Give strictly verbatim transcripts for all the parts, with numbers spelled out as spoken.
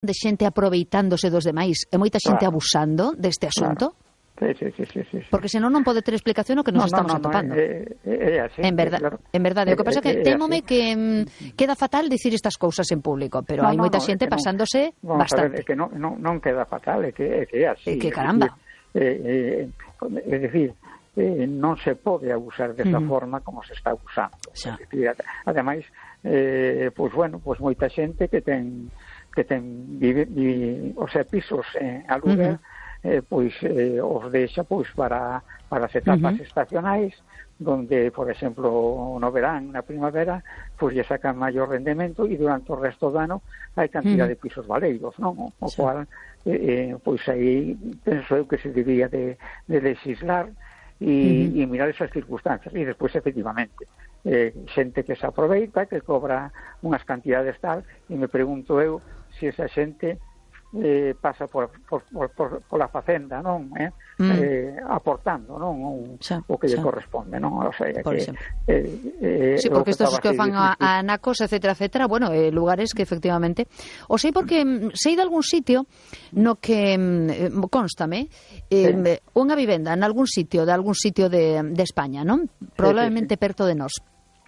de xente aproveitándose dos demais e moita xente Claro. abusando deste asunto? Claro. Sí, sí, sí, sí, sí. Porque senón non pode ter explicación o que nos no, estamos no, no, atopando. É, é, é así, en verdade, claro. en verdade. O que pasa é que É, é témome así. que mm, queda fatal dicir estas cousas en público, pero No, hai no, moita no, xente é que non- pasándose Vamos a ver, bastante. é que non, non, non queda fatal, é que é, que é así. É que é caramba. Decir, eh, eh, é dicir, eh, non se pode abusar desta Ujú. forma como se está abusando. Xa. É dicir, ademais, eh, pois bueno, pois moita xente que ten que ten vive, vive, o sea, pisos en aluguer, Ujú. eh, pois eh, os deixa pois para para as etapas Ujú. estacionais, donde, por exemplo, no verán, na primavera, pois lle sacan maior rendemento e durante o resto do ano hai cantidad Ujú. de pisos valeiros, non? O Sí. cual, eh, eh, pois aí penso eu que se debía de, de legislar e, Ujú. e mirar esas circunstancias. E despois, efectivamente, eh, xente que se aproveita, que cobra unhas cantidades tal, e me pregunto eu se esa xente eh, pasa por, por, por, por, por a facenda, non? Eh? Mm. Eh, aportando, non? Un, Xa, o que lle xa. corresponde, non? O sea, Por que, exemplo. eh, eh, Sí, o porque estos estaba que así fan a, difícil. a Anacos, etcétera, etcétera, bueno, eh, lugares que efectivamente... O sei porque mm, sei de algún sitio no que, mm, eh, constame, eh, Sí. unha vivenda en algún sitio, de algún sitio de, de España, non? Probablemente sí. perto de nós.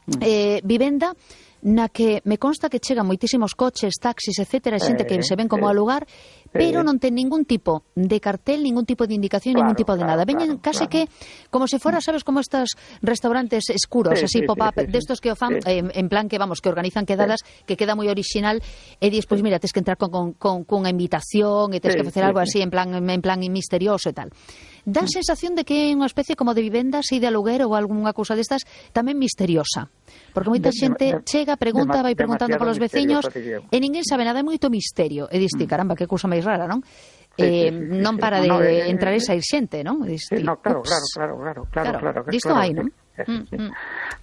Mm. Eh, vivenda na que me consta que chegan moitísimos coches, taxis, etcétera, e xente que Eh, se ven como eh, a lugar, pero eh. non ten ningún tipo de cartel, ningún tipo de indicación, Claro, ningún tipo de claro, nada. Veñen claro, case claro. que como se fuera, sabes, como estos restaurantes escuros, Sí, así sí, pop-up, sí, sí, sí. destos que o fan Sí. eh, en plan que, vamos, que organizan quedadas, que queda moi original, e dis, pois mira, tes que entrar con, con, con, cunha invitación, e tes Sí, que facer sí, algo sí. así en plan en plan misterioso e tal. Dá a sensación de que é unha especie como de vivenda así de aluguer ou algunha cousa destas tamén misteriosa. Porque moita De- de- xente de- chega, pregunta, dema- vai preguntando demasiado polos veciños misterioso, diría eu. e ninguén sabe nada, é moito misterio. E dis ti, caramba, que cousa máis rara, non? Sí, eh, sí, sí, sí, non sí. para No, de no, eh, entrar e eh, sair xente, non? E dis Sí, ti, no, claro, ups. claro, claro, claro, claro, Claro, claro, que disto claro, hai, sí, non? sí, sí, Mm, sí. mm.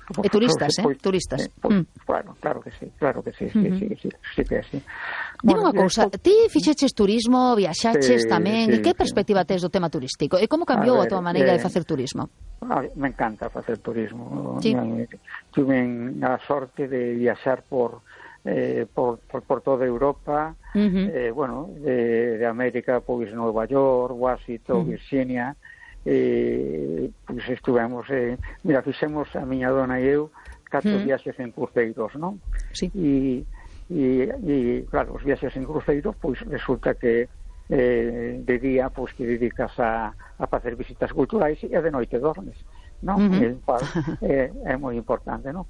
Pues, E turistas, pues, eh, turistas. pues, Mm. Claro, claro que sí, claro que sí, sí, Ujú. sí, sí, sí que é así. Dime unha Bueno, cousa, despois- ti fixeches turismo, viaxaches Sí, tamén, e sí, que sí. perspectiva tes do tema turístico? E como cambiou a, A ver, tua maneira de eh, facer turismo? A ver, me encanta facer turismo. Sí. Me- Tuve a sorte de viaxar por eh, por, por, por toda Europa, Ujú. eh, bueno, de, de América, pois Nova York, Washington, Ujú. Virginia, eh, pois estuvemos, eh, mira, fixemos a miña dona e eu catro Ujú. viaxes en cruceiros, non? Sí. E, e, e, claro, os viaxes en cruceiros, pois resulta que eh, de día, pois que dedicas a, a facer visitas culturais e de noite dormes, non? Ujú. El cual eh, é moi importante, non?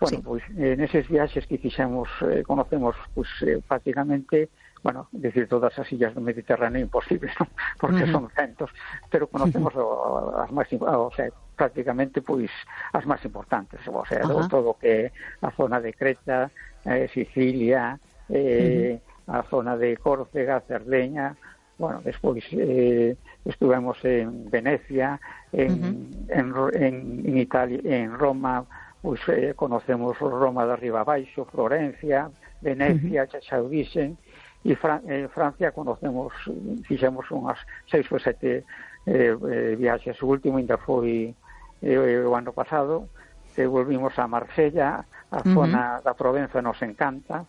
Bueno, Sí. pois eh, neses viaxes que fixemos, eh, conocemos pois eh, prácticamente, bueno, decir todas as illas do Mediterráneo imposible, non? Porque Ujú. son centos, pero conocemos o, as máis, o sea, prácticamente pois as máis importantes, o sea, Ajá. do, todo o que é a zona de Creta, eh, Sicilia, eh, a zona de Córcega, Cerdeña, bueno, despois eh, estuvemos en Venecia, en, Ujú. en, en, en Italia, en Roma, pois eh, conocemos Roma de arriba abaixo, Florencia, Venecia, xa xa o dixen, e Fran eh, Francia conocemos, fixemos unhas seis ou sete eh, eh, viaxes. O último ainda foi eh, o ano pasado, que volvimos a Marsella, a Ujú. zona da Provenza nos encanta,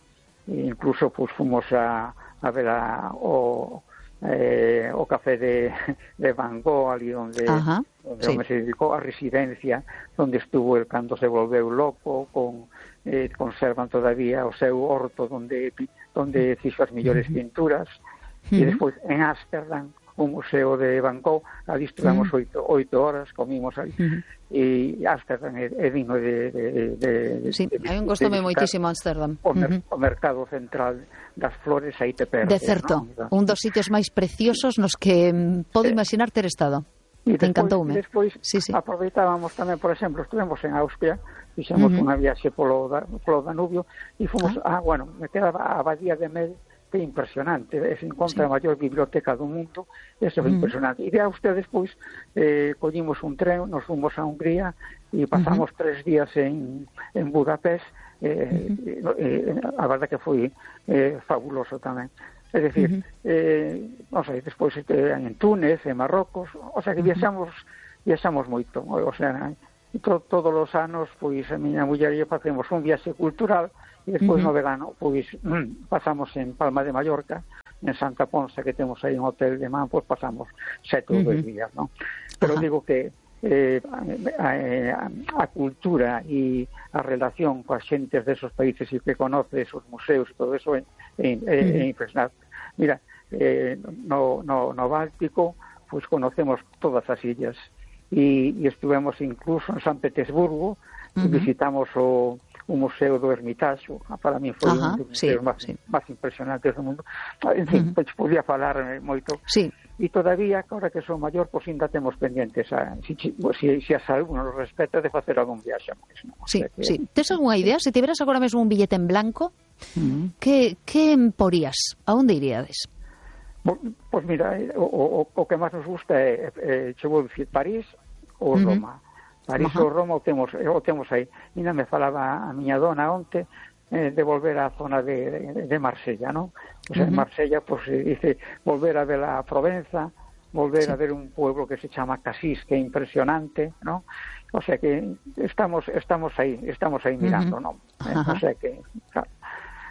e incluso pues, fomos a, a ver a, o, eh, o café de, de Van Gogh, ali onde, Ajá, onde sí. onde se dedicou a residencia, onde estuvo el cando se volveu loco, con eh, conservan todavía o seu horto onde onde fixo as mellores pinturas, e Ujú. despois en Ámsterdam, o museo de Van Gogh, ali estuvemos Ujú. oito, oito horas, comimos ali, Ujú. e Ámsterdam é, é digno de, de, de, de, Sí, de, hai un de gostome visitar. moitísimo Amsterdam. O, mer Ujú. o mercado central das flores aí te perdes, De certo, ¿no? un dos sitios máis preciosos nos que mm, podo Sí. imaginar ter estado. E Te despois, encantoume. despois Sí, sí. aproveitábamos tamén, por exemplo, estuvemos en Austria, fixemos Ujú. unha viaxe polo, da, polo Danubio e fomos, Ah. ah, bueno, me queda a Abadía de Mel, que é impresionante, se encontra Sí. a maior biblioteca do mundo, eso é Ujú. impresionante. E de Austria despois eh, collimos un tren, nos fomos a Hungría e pasamos uh -huh. tres días en, en Budapest, eh, uh -huh. eh, a verdade que foi eh, fabuloso tamén. É dicir, uh -huh. eh, non sei, despois eh, en Túnez, en Marrocos, o sea que viaxamos, viaxamos moito, o sea, to, todos os anos, pois, a miña muller e eu facemos un viaxe cultural e despois uh-huh. no verano, pois, pasamos en Palma de Mallorca, en Santa Ponsa, que temos aí un hotel de man, pois pasamos sete ou uh-huh. dois días, non? Pero uh-huh. digo que eh, a, a, a cultura e a relación coas xentes desos países e que conoce esos museos e todo eso é, é, é, é impresionante. Mira, eh, no, no, no Báltico, pois conocemos todas as illas e, e estivemos incluso en San Petersburgo, uh-huh. visitamos o o Museo do Ermitaxo, para mí foi Ajá, un dos museos sí, máis, sí. máis impresionantes do mundo. En fin, uh-huh. pois podía falar moito. Sí. E todavía, agora que son maior, pois ainda temos pendientes a, si, si, si a salud nos respeta de facer algún viaxe máis. Non? Sí, o sea que, sí. Tes algunha idea? Se tiveras agora mesmo un billete en blanco, uh-huh. que, que porías? A onde iríades? Pois mira, o, o, o que máis nos gusta é, é, che vou dicir, París ou uh-huh. Roma. París ou Roma o temos, o temos aí. Ainda me falaba a miña dona onte eh, de volver á zona de, de, de Marsella, non? O sea, uh-huh. en Marsella, pues, dice, volver a ver a Provenza, volver sí. a ver un pueblo que se chama Casís, que é impresionante, non? O sea que estamos estamos aí, estamos aí mirando, uh-huh. non? Eh, uh-huh. O sea que, claro,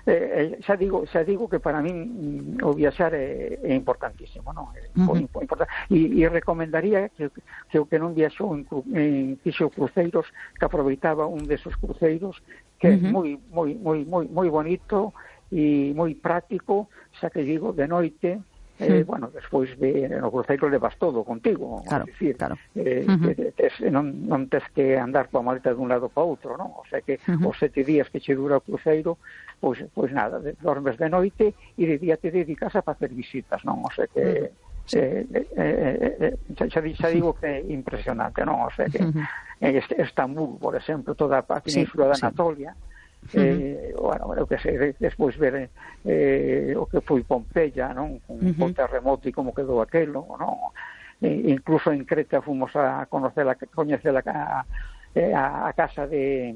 eh, xa digo, xa digo que para min o viaxar é, é importantísimo, non? É uh-huh. importante. E, e recomendaría que, que o que non viaxou en, en fixo cruceiros, que aproveitaba un desos cruceiros que uh-huh. é moi moi moi moi moi bonito e moi práctico, xa que digo, de noite. Eh, bueno, despois de, no cruceiro levas todo contigo, claro, decir, claro. Eh, uh-huh. que tes, non, non tes que andar coa maleta de un lado para outro, non? O sea que uh-huh. os sete días que che dura o cruceiro, pois, pois nada, de, dormes de noite e de día te dedicas a facer visitas, non? O sea que uh-huh. sí. eh, eh, eh, xa, xa digo que é impresionante, non? O sea que uh-huh. en Estambul, por exemplo, toda a península sí, de Anatolia, sí. Eh, uh-huh. bueno, o que sei, despois ver eh, o que foi Pompeia, non? Con uh-huh. o terremoto e como quedou aquelo, non? E, incluso en Creta fomos a conocer a coñecer a, a, a casa de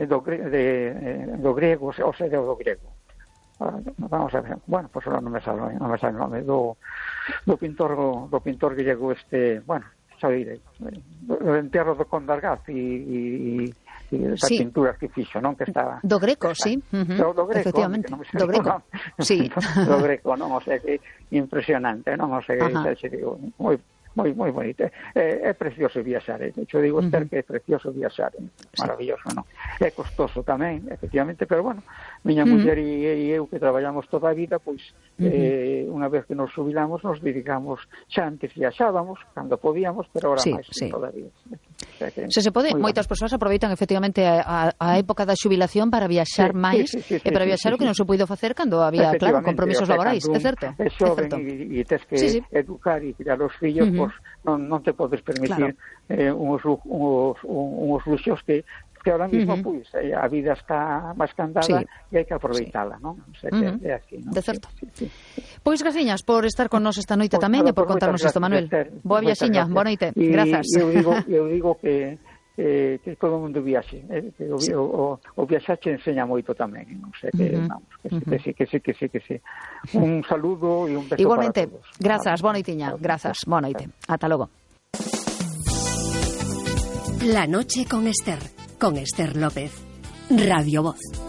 do, de, do grego, o sea, do grego. Vamos a ver, bueno, pues ahora non me sale, non me sale o nome do, do pintor do pintor griego este, bueno, xa direi, do enterro do Condargaz e, e e das sí. pinturas que fixo, non? Que estaba do Greco, está, sí. Uh-huh. do, do Greco, efectivamente. Non do Greco, non. Sí. do Greco, non? O sea, que impresionante, non? O sea, que xa digo, moi moi moi bonito. É, é precioso viaxar, eh? De hecho, digo, uh-huh. ter que é precioso viaxar, é maravilloso, non? É costoso tamén, efectivamente, pero bueno, miña uh-huh. muller e, e eu que traballamos toda a vida, pois, uh-huh. eh, unha vez que nos jubilamos, nos dedicamos, xa antes viaxábamos, cando podíamos, pero ahora sí, máis sí. todavía. O sea, que, se se pode, moitas bueno. persoas aproveitan efectivamente a, a época da xubilación para viaxar sí, máis sí, sí, sí, e para viaxar sí, sí, o que non se puido facer cando había, claro, compromisos o sea, laborais, é certo? É xoven e tes que sí, sí. educar e criar os fillos, uh-huh. pois non, non te podes permitir claro. eh, uns, uns, uns luxos que que ahora mismo, uh-huh. pois, pues, a vida está máis candada sí. e hai que aproveitala, sí. non? O sea, que uh-huh. é así, non? De certo. Sí, sí, sí. Pois graciñas por estar con nos esta noite pues, tamén e por contarnos isto, Manuel. Boa viaxiña, boa noite. Grazas. Eu digo, eu digo que eh, que todo o mundo viaxe, eh, que o, sí. o, o viaxaxe ensenya moito tamén, non sei que, uh-huh. vamos, que, uh-huh. que sí, que sí, que sí, que sí. Un saludo e un beso igualmente, para todos. Grazas, boa noitiña, grazas, boa noite. Ata logo. La noche con Esther, con Esther López, Radio Voz.